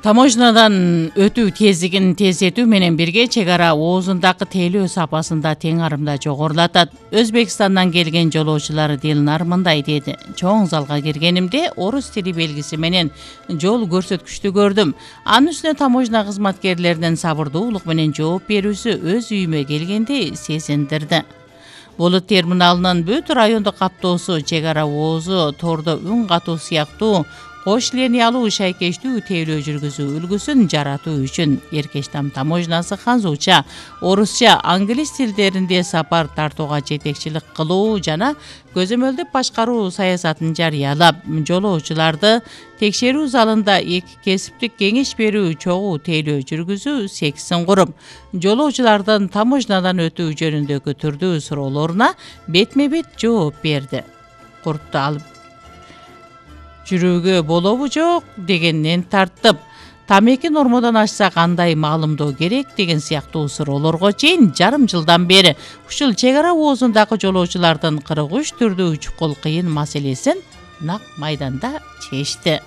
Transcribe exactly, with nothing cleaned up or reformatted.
Таможнадан өтүү тездигин тездетүү менен бирге чек ара оозундагы тейлөө сапасын да тең арымда жогорулатат. Өзбекстандан келген жолоочулар Дилнар мындай деди: чоң залга киргенимде орус тили белгиси менен жол көрсөткүчтү көрдүм. Анын үстүнө таможна кызматкерлеринин сабырдуулук менен жооп берүүсү өз үйүмө келгенди сезиндирди. Болот терминалынын бүт райондук каптоосу, чек ара оозу, тордо үн катуу сыяктуу кош линиялуу шайкештүү тейлөө жүргүзүү үлгүсүн жаратуу үчүн Эркечтам таможнасы ханзуча, орусча, англис тилдеринде сапар тартууга жетекчилик кылуу жана көзөмөлдүп башкаруу саясатын жарыялап, жолоочуларды текшерүү залында эки кесиптик кеңеш берүү, чогуу тейлөө жүргүзүү сексин куруп, жолоочулардын таможнадан өтүү жөнүндөгү түрдүү суроолоруна бетме бет жооп берди. Куртту алып жүрүүгө болобу жок дегенден тартып, тамеки нормодон ашса кандай маалымдоо керек деген сыяктуу суроолорго чейин жарым жылдан бери ушул чек ара оозундагы жолоочулардын кырк үч түрдүү чукул кыйын маселесин нак майданда чечти.